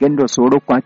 Genda osobola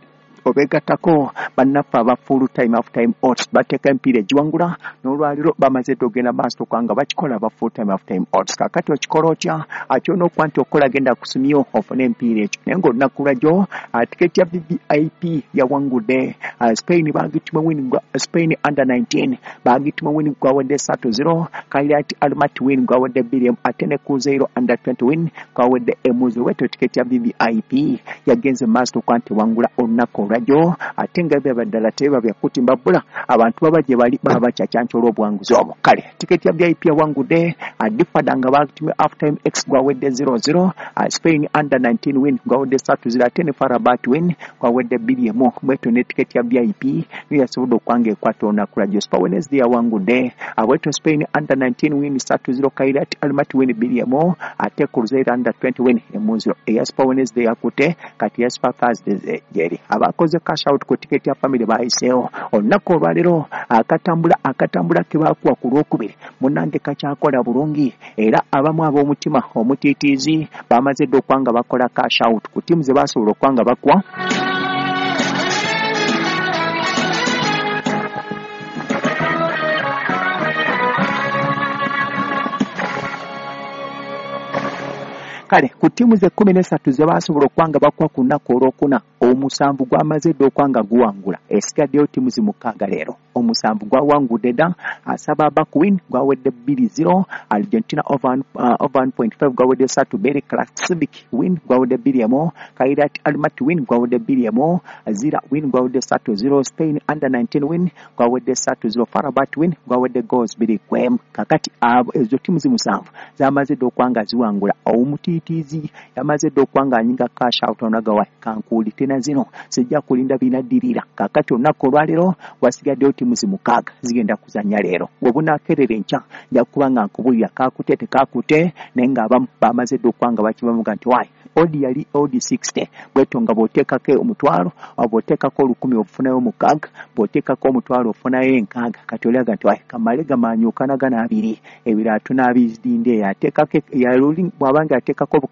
obegattako bannaffe aba full time half time odds, bateeka emipiira egiwangula. N'olwaliro bamaze dda ogenda maaso kubanga bakikola aba full time half time odds. Kakati okikola otya? Akyona okuba nti okukola, genda kusimyo ofune emipiira ekyo. Naye ng'olunaku lwajjo tiketi ya VVIP yawangudde Spain, bagituma win. Spain under 19 bagituma win gwawadde 3-0, Kairat Almaty win gwawadde 2, ate ne Cruzeiro under 20 win gwawadde 1-0. Wetyo tiketi ya VVIP yagenze maaso okuba nti wangula olunaku olwajjo, ate nga byaba ddala teba byakutimba bbula, abantu baba gye bali baba bakyakyanca olw'obuwanguzi obwo. Kale tiketi ya VIP yawangudde Difada nga bagitumye half time x gwawedde 0-0, Spain under 19 win gwawadde 3-0, ate ne FAR Rabat win gwawadde 2-1. Bwetyo ne tiketi ya VIP niyo yasobodde okwanga ekwata olunaku lwajjo. Super Wednesday yawangudde bwetyo Spain under 19 win 3-0, Kairat Almaty win 2-1, ate Cruzeiro under 20 win 1-0. Eya Super Wednesday yakutte, kati ya Super Thursday gyeri. Abakoze cash out ku tiketi ya family bayiseewo olunaku olwaleero. Akatambula ke baakuwa ku Lwokubiri, munnange, kakyakola bulungi, era abamu ab'omutima omutiitiizi bamaze dda okuba nga bakola cash out ku ttiimu ze basobola okuba nga bakuwa. Kale ku ttiimu ze 13 ze basobola okuba nga bakuwa ku lunaku olwokuna, omusanvu gwamaze dda okuba nga guwangula. Esigaddeyo ttiimu zi 6 leero. Omusanvu gwawangudde dda. Asaba Baku win gwawedde 2-0, Argentina over 1.5 gwawedde 3-2, Klaksvik win gwawedde 2-1, Kairat Almaty win gwawedde 2-1, Zira win gwawedde 3-0, Spain under 19 win gwawedde 3-0, FAR Rabat win gwawedde goals 2-1. Kakati abo ezo ttiimu zi 7 zamaze dda okuba nga ziwangula. Omutiitiizi yamaze dda okuba nga anyinga cash out onagawa kankuuli tena zino sijja kulinda binaddirira. Kakati olunaku olwaleero wasigaddeyo ttiimu zi 6 zigenda kuzannya leero. Webunaakerera enkya nja kuba nga nkubulira kakute tekakute, naye ng'abamu bamaze dda okuba nga bakibamuga nti wayi odd yali odd 60. Bwetyo nga bw'oteekako 100, bw'oteekako 1,000 ofunayo 6, bw'oteekako 500 ofunayo 60. Kati oliaga nti wayi kamale gamanyuukana gana abiri, ebirala tunaabizidinde. Ateekako bw'abanga ateekako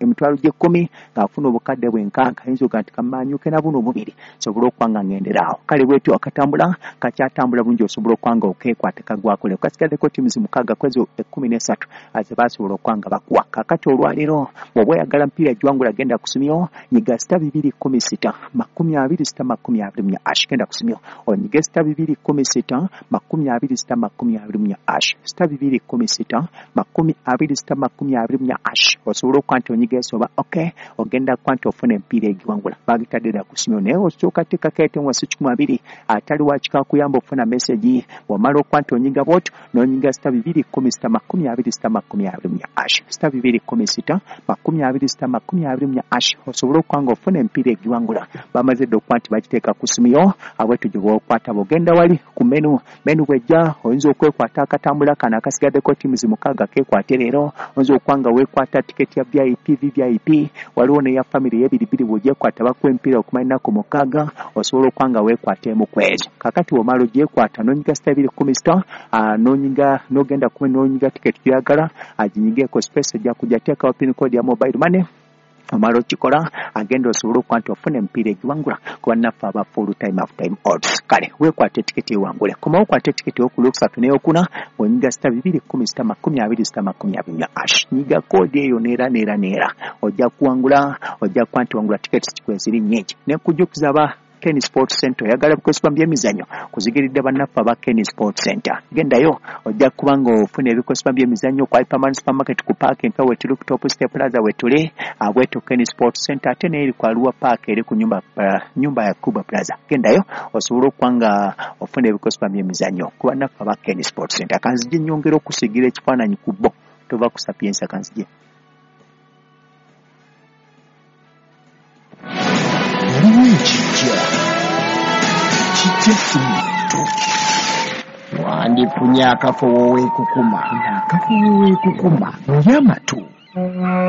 emitwalo gy'ekkumi ng'afuna obukadde bwenkaaga, ayinza oga nti kamanyuke na buno bubiri sobole okuba nga ngenderaawo. Kale bwetyo akatambula kakyatambula bulungi, osobola okuba nga okeekwata kagwakole. Kasigaddeko ttiimu zi 6 kwezo 13 ze basobola okuba nga bakuwa. Kakati olwaleero bw'oba oyagala mpiira giwangula, genda kusimyo, nyiga *216 20 *24 hash. Genda kusimyo onyige *216 20 *24 hash, *216 20 *24 hash, osobola okuba nti onyiga esoba ok, ogenda kuba nti ofuna empiira egiwangula. Bagitadde dda kusimyo, naye osooka teekako ete wasi 120 atali wakika kuyamba okufuna message. Bw'omala okuba nti onyiga bwotyo n'onyiga *216 20 *24 hash, *216 20 *24 hash, osobola okuba nga ofuna emipiira egiwangula. Bamaze dda okuba nti bagiteeka ku simu yo abwetu gye bwokwata. Bwogenda wali ku menu, menu bwejja oyinza okwekwata akatambula kano akasigaddeko ttiimu zi 6 keekwate leero. Oyinza okuba nga weekwata tiketi ya VIP, VVIP, waliwo neya family ey'ebiribiri. Bw'ogyekwata bakuwa emipiira okumala ennaku 6, osobola okuba nga weekwata emu ku ezo. Kakati bw'omala ogyekwata n'onyiga *216, n'onyiga n'ogenda ku n'onyiga tiketi gy'oyagala, aginyigeko space ejja kujja, teekawo pin code ya mobile money. Omala okikola, agenda osobola okuba nti ofuna emipiira egiwangula ku bannaffe aba full time half time odds. Kale weekwata etiketi ewangule, komawo okwata etiketi ey'okulwokusatu n'eyokuna ng'onyiga *216 20 *24 hash. Nyiga code eyo neera neera neera, ojja kuwangula, ojja kuba nti wangula. Tiketi kweziri nnyingi. Nekujjukiza aba Ken Sport Center, oyagala bikozesebwa mu byemizannyo, kuzigiridde bannaffe aba Ken Sport Center. Gendayo ojja kuba nga ofuna ebikozesebwa mu byemizannyo. Ku Hyperman Supermarket ku park empya wetuli, ku Top Step Plaza wetuli abweto Ken Sport Center, ate neeri ku Arua Park eri ku nyumba ya Cuba Plaza. Gendayo osobola okuba nga ofuna ebikozesebwa mu byemizannyo ku bannaffe aba Ken Sport Center. Kanzije nyongera okusigira ekifaananyi ku bo. Tova ku Sapienza, kanzije. Waliwo ekijja kijja si muntu. Wandifunye akafo weekukuma. Akafo weekukuma oli amatu.